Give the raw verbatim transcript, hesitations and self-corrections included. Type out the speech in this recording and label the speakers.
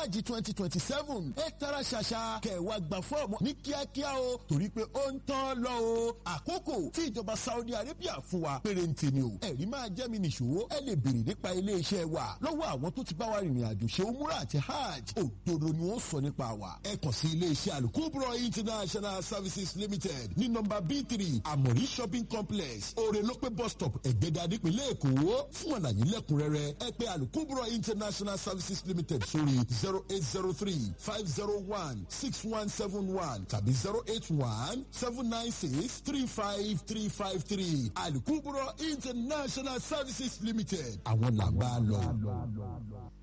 Speaker 1: Hajj twenty twenty seven ẹ tara ṣàṣà kẹwàá gba fọ́ọ̀mù ní kíákíá o, torí pé ó ń tán lọ o. Àkókò tí ìjọba Saudi Arabia fún wa pérénte ni o. Ẹ̀rí máa jẹ́ mi nìṣó. Ẹ lè béèrè nípa ilé-iṣẹ́ wa lọ́wọ́ àwọn tó ti bá wa rìnrìn àjò ṣe umura àti hajj. Òdodo ni wọ́n sọ nípa wa. Ẹ kàn sí ilé-iṣẹ́ Alukubro International Services Limited ní nọ́mbà B three, Amori Shopping Complex, Orelope Bus Stop, Ẹ̀gbẹ́dà, nípínlẹ̀ Èkó. Fún àlàyé lẹ́kùnrẹ́rẹ́, ẹ pè Alukubro International Services Limited sórí zero eight zero three five zero one six one seven one tàbí zero eight one seven nine six three five three five three. Alukubro International Services Limited, àwọn là ń bá lọ.